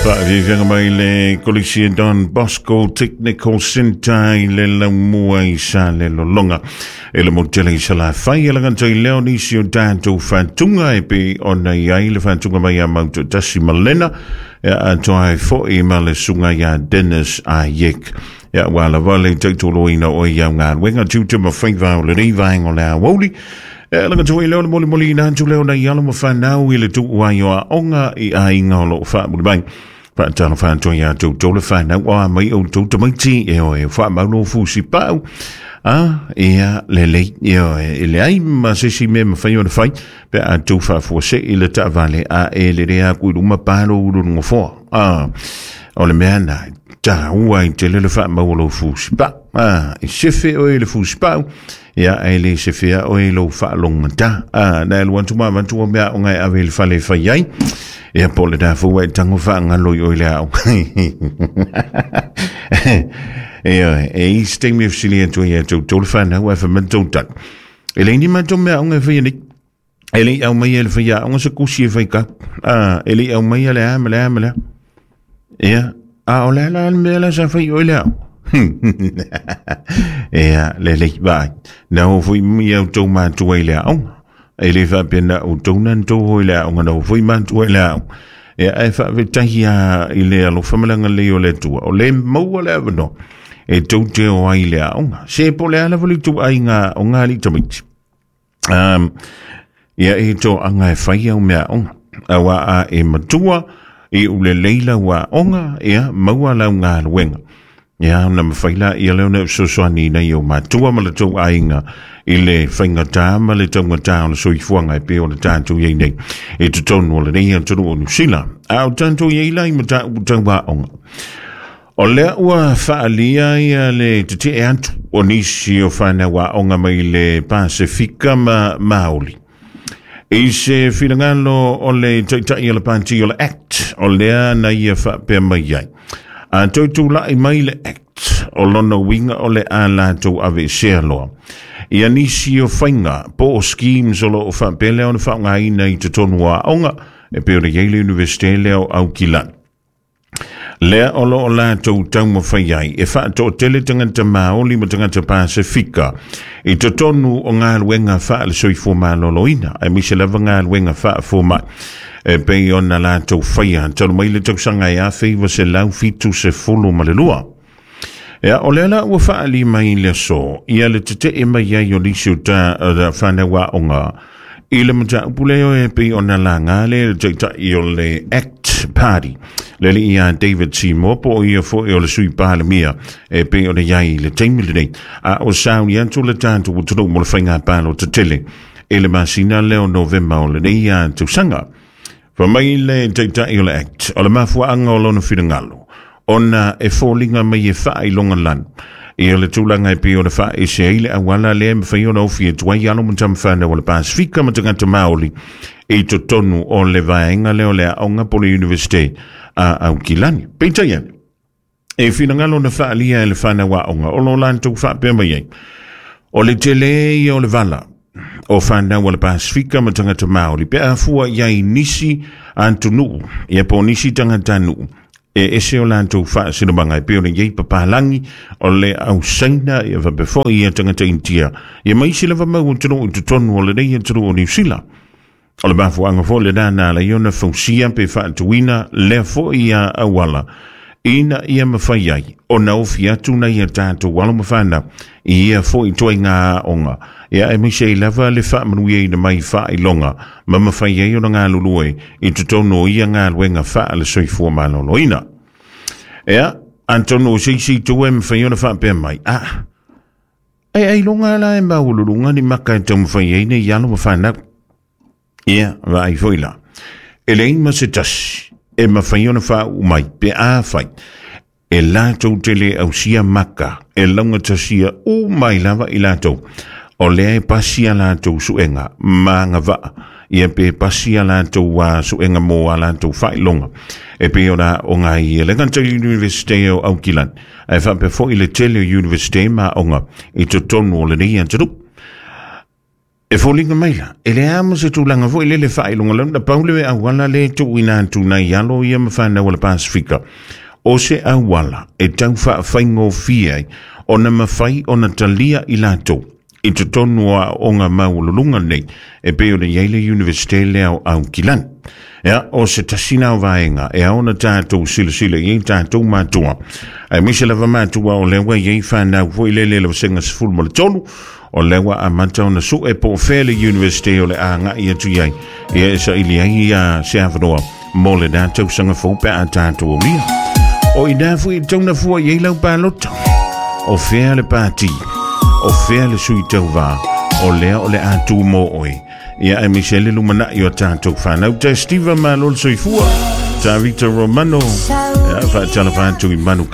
Faafiafiaga mai le Kolisi e Don Bosco Technical Centre i le laumua i Salelologa. E le motele i Salafai e lagata i leo nisi o tatou faatuga e pei ona i ai le faatuga mai a Mautotasi Malena e atoa ai foi ma le susuga ia Dennis Ayek. Ia ua lava le taitoloina o ia galuega tiute ma faiva o lenei vaega o le aoauli. E lagata i leo le molimoli ina atu leo nai alo ma fanau i le tuu ai o aoga i aiga o loo faamuli mai. Faatalofa atu ia outou le fanau o a mai outou tamaiti e oe faamaulo fusi pau. A, ia, lelei, e oe, e leai ma se isi mea e mafai ona fai, pe a tou faafuasei le taavale a e lelei aku i luma palo ulu le nofoa. A, o le mea na, taua ai tele le faamau o lou fusi pau. A, e sefe oe i le fusi pau, ia, ae le sefea oe i lou faalogogata. A, na e alu atu ma avatu o mea aoga e ave i le fale e fai ai. Ia, po o lena foi ua e tago faagalo i oe i le aoga. Ioe, e i se taimi e fesili atu ai ia outou le fanau ae fai mai le tou tali. E leai ni matou mea aoga e faia nei. E le i aumaia e le faiaoga se kusi e fai kau. A, e le i aumaia le a ma le a ma le a. Ia, a o le a la le mea la sa fai i oe le aoga? Ia, lelei, vaai. Na o foi ia outou matua i le aoga. E le faapea na outou na tou o i le aoga, na o foi matua i le aoga. Ia, ae faafetai lava i le alofa ma le agalelei o le Atua, o lea e maua le avanoa e tou te o ai i le aoga. Se po o le a lava le ituaiga aoga a alii tamaiti. Ia e toaga e fai au mea aoga. Aua a e matua i ulelei lau aoga, ia maua lau galuega. Ia ona mafai laia lea ona e fesoasoani i nai ou matua ma le tou aiga i le faigata ma le taugata o le soifuaga e pei ona tatou i ai nei i totonu o lenei atunuu o Niu Sila. A o tatou i ai la i mataupu tau aoga. O lea ua faaalia ia le tetee atu o nisi o fanau aoga mai le Pasefika ma Maoli. I se finagalo o le Taitai o le Pati o le Act, o lea na ia faapea mai ai. A toe tulai mai le Act, o lona uiga o le a latou aveesea loa. Ia nisi o faiga po o schemes o lo o faapea lea ona faaaogaina i totonu o aoga, e pei ona i ai le Iunivesite lea o Aukilani. Lea o lo o latou taumafai ai e faatoatele tagata Māori ma tagata Pasefika i totonu o galuega faale-soifua maloloina, aemaise lava galuega faafomai e pei ona latou faia talu mai le tausaga e 1972. Ia, o lea la ua faaali mai i le aso, ia le tetee mai ai o nisi o ta fanau aoga i le mataupu lea e pei ona laga le le taitai o le Act Party, le alii ia David Seymour, po o ia foi o le sui palemia e pei ona i ai i le taimi lenei. A o sauni atu le tatou atunuu mo le faiga palota tele i le masina lea o Novema o lenei tausaga. Fai mai le Taitai o le Act, o le mafuaaga o lona finagalo, ona e foliga mai e faailoga lanu ia le tulaga e pei ona faaese ai le auala lea e mafai ona ofi atu ai alo ma tamafanau o le Pasefika ma tagata Maoli i totonu o le vaega lea o le aoga po o le Iunivesite a Aukilani. Peitai ane, e finagalo na faaalia e le fanau aoga o lo latou faapea mai ai, o le tele ia o le vala o fanau a le Pasefika ma tagata Māori pe a fua i ai nisi atunuu, ia po o nisi tagatanuu e ese o latou faasinomaga e pei ona i ai papalagi o le au Saina, ia faapea foi ia tagata Initia, ia ma isi lava mau atunuu i totonu o lenei atunuu o Niu Sila. O le mafuaaga foi lena na ala ai ona fausia pe faatuina lea foi auala ina ia mafai ai ona ofi atu nai a tatou alo ma fanau i ia foi ituaiga aoga, ia aemaise ai lava le faamanuiaina mai faailoga ma mafai ai ona galulue i totonu o ia galuega faale-soifua maloloina. Ia, atonu o se isi itu e mafai ona faapea mai, ah, E ailoga la e maualuluga ni maka e taumafai ai nei alo ma fanau. Ia, vaai foi la. E leai ma se tasi e mafai ona faauu mai pe afai e latou te le ausia maka e laugatasia uma ai lava i latou o lea e pasi a latou suega ma agavaa ia pe pasi a latou suega mo a latou faailoga e pei ona aoga ai e le gata i le Iunivesite o Aukilani ae faapea foi le tele o Iunivesite ma aoga i totonu o lenei atunuu. E foliga mai la, e leai ma se tulaga foi lele faailoga launa, pau le auala lea e tuuina atu nai alo ia ma fanau a le Pasefika, o se auala e tau faafaigofie ai ona mafai ona talia i latou i totonu o aoaoga maualuluga nei e pei ona i ai le Iunivesite lea o Aukilani. Ia, o se tasi na o vaega e ao ona tatou silasila i ai tatou matua, aemaise lava matua o lea ua i ai fanau foi lele le vasega 13, o lea ua amata ona sue po o fea le Iunivesite o le a agai atu i ai, ia e saili ai ia se avanoa mo lena tausaga fou pe a tatou aulia. O ina foi e tauna fua i ai lau palota. O fea le pati, o fea le sui tauvā, o lea o le a tu mō oe. Ia aemaise le lumanai o tatou fanau. Ta Steve malo le soifua. Ta Victor Romano. Ia, faatalofa atu i manu.